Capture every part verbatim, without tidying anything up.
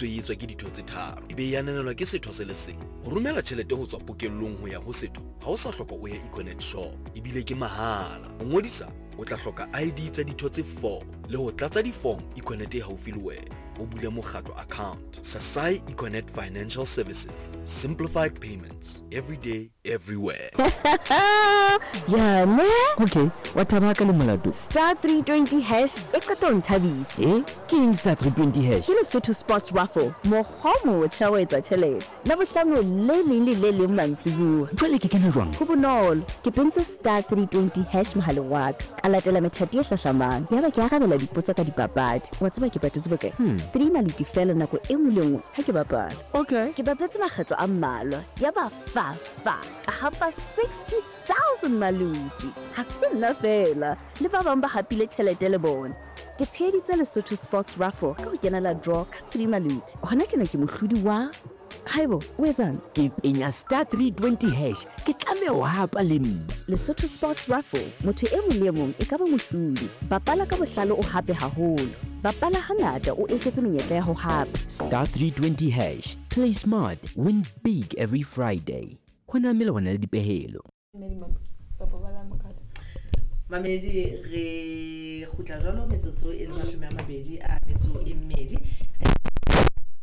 Ngodiso e etswa ke ditho tse tharo, e be e ananelwa ke setho se le seng. Ho romela tjhelete ho tswa pokellong ho ya ho setho, ha o sa hloka o ye Econet shop, ebile ke mahala. Ho ngodisa o tla hloka I D tsa ditho tse four le ho tlatsa di-form Econet e haufi le wena. O bule mokgatlo account. Sasai Econet Financial Services. Simplified payments. Every day, everywhere. Ya ne? Okay, wa thaba ka le molato. Star three twenty hash e qeta ho nthabisa. Eh? Ke eng star three twenty hash? Ke Lesotho Sports Raffle. Mokgwa o motjha wa etsa tjhelete. Labohlano le leng le le leng mantsibuya. Jwale ke kena jwang? Ho bonolo. Ke pentse star three twenty hash mohaleng wa ka. Ka latela methati e hlahlamang. Yaba ke arabela dipotso ka dipapadi. Wa tseba ke patetse bokae? Hmm. Three maluti fela nako e nngwe le nngwe ha ke bapala. Okay. Ke bapetse makgetlo a mmalwa. Yaba fa fa ka hapa sixty thousand maluti. Ha se nna fela, le ba bang ba hapile tjhelete le bona. Ke tsheheditse Lesotho Sports Raffle ka ho kenela draw ka three maluti. Hona tjena ke mohlodi wa Haibo, o etsang? Ke penya star three twenty hash. Ke tlameha ho hapa le nna. Lesotho Sports Raffle, motho e mong le e mong e ka ba mohlodi. Bapala ka bohlale o hape haholo. Bapala hangata o eketse menyetla ya ho hapa. Star three twenty hash. Play smart, win big every Friday. Ho na melawana le dipehelo. Mamedi re kgutla jwalo metsotso e le mashome a mabedi a metso e mmedi.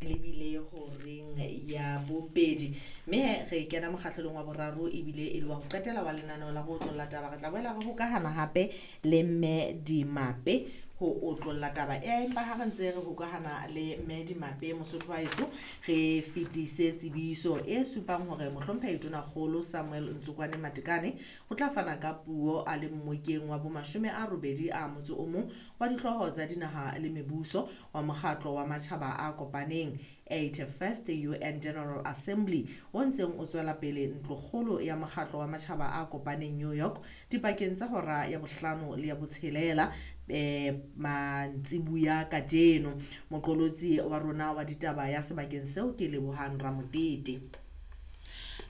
Lebile horeng ya bobedi. Mme re kena mokgahlelong wa boraro ebile e le wa ho qetela wa lenaneo la ho otlolla taba. Re tla boela re hokahana hape le Mme Dimape ho otlolla taba. Empa ha re ntse re hokahana le Mme Dimape Mosotho wa heso, re fetise tsebiso e supang hore mohlomphehi Tonakgolo Samuel Ntsokwane Matekane o tla fana ka puo a le mmokeng wa bomashome a robedi a motso o mong wa dihlooho tsa dinaha le mebuso wa mokgatlo wa matjhaba a kopaneng eighty-first U N General Assembly o ntseng o tswela pele ntlokgolo ya mokgatlo wa matjhaba a kopaneng New York dipakeng tsa hora ya bohlano le ya botshelela eh mantsibuya kajeno. Moqolotsi wa rona wa ditaba ya sebakeng seo ke Lebohang Ramotete.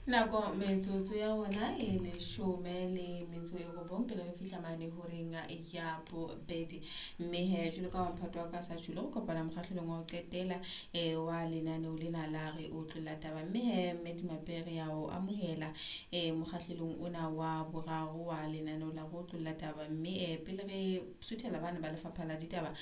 Nako metsotso ya rona e leshome le metso e robong pele re fihla mane horeng ya bobedi. Mme he jwalo ka mphato wa ka sa tjholo re kopana mokgahlelong wa ho qetela eh wa lenaneo lena la re otlolla taba. Mme he Mme Dimape re ya o amohela eh mokgahlelong ona wa boraro wa lenaneo la re otlolla taba. Mme eh pele re suthela bana ba lefapha la ditaba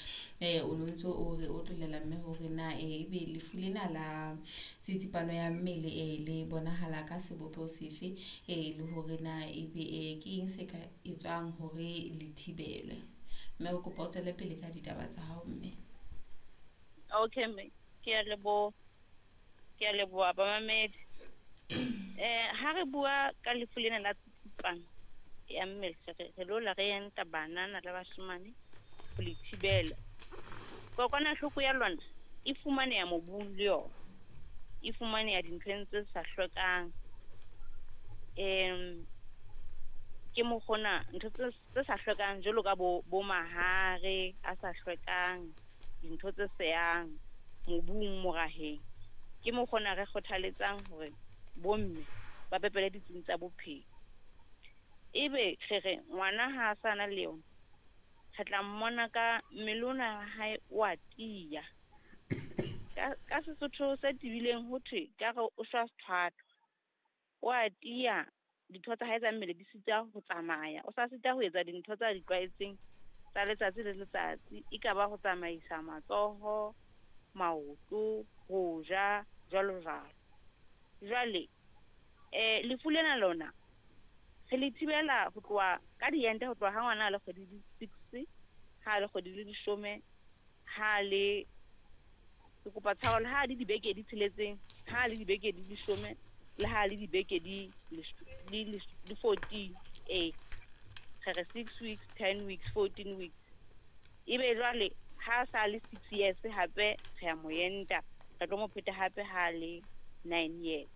eh o no ntso o re otlollela mme hore na eh ebe lefu lena la tsitsipano ya mmele eh le bonahala ka sebopeho sefe eh le hore na ebe eh ke eng se ka etswang hore le thibelwe. Mme re kopa o tswele pele ka ditaba tsa hao mme. Okay mme, ke a leboha. Ke a leboha bamamedi. Eh ha re bua ka lefu lena la tsitsipano ya mmele re re lo la re enta banana le bashemane ho le thibela. Kokwanahloko ya lona e fumaneha mobung le yona. E fumaneha dinthong tse sa hlwekang. Em ke mokgona ntho tse tse sa hlwekang jwalo ka bo bo mahare a sa hlwekang, dintho tse seyang mobung moraheng. Ke mokgona re kgothaletsang hore bomme ba pepele ditsing tsa bophelo. Ebe re re ngwana ha a sa na le yona, re tla mmona ka mmele ona wa hae o a tiya. Ka, ka Sesotho se tebileng ho thwe ka re o shwa sethwathwa. O a tiya, ditho tsa hae tsa mmele di sita ho tsamaya. O sa sita ho etsa dintho tsa di tlwaetseng tsa letsatsi le letsatsi. E ka ba ho tsamaisa matsoho, maoto, ho ja, jwalo jwalo. Jwale, eh, lefu lena lona re le thibela ho tloha ka diente ho tloha ha ngwana a le kgwedi di six, ha a le kgwedi di leshome, ha a le ke kopa tshwarelo, ha a le dibeke di tsheletseng, ha a le dibeke di leshome, le ha a le dibeke di lesh-, di lesh-, di fourteen, eh, re re six weeks, ten weeks, fourteen weeks. Ebe jwale ha a sa le six years hape re a mo enta, re tlo mo pheta hape ha a le nine years.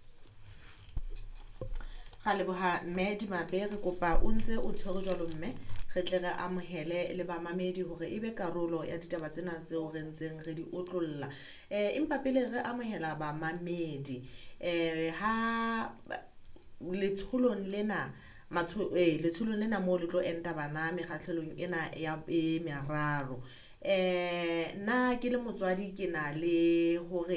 Ra leboha Mme Dimape, re kopa o ntse o tshwere jwalo mme, re tle re amohele le bamamedi hore ebe karolo ya ditaba tsena tseo re ntseng re di otlolla. Eh, empa pele re amohela bamamedi, eh, ha letsholong lena, matsho-, eh, letsholong lena moo le tlo enta bana mekgahlelong ena ya e meraro. Eh, nna ke le motswadi ke na le hore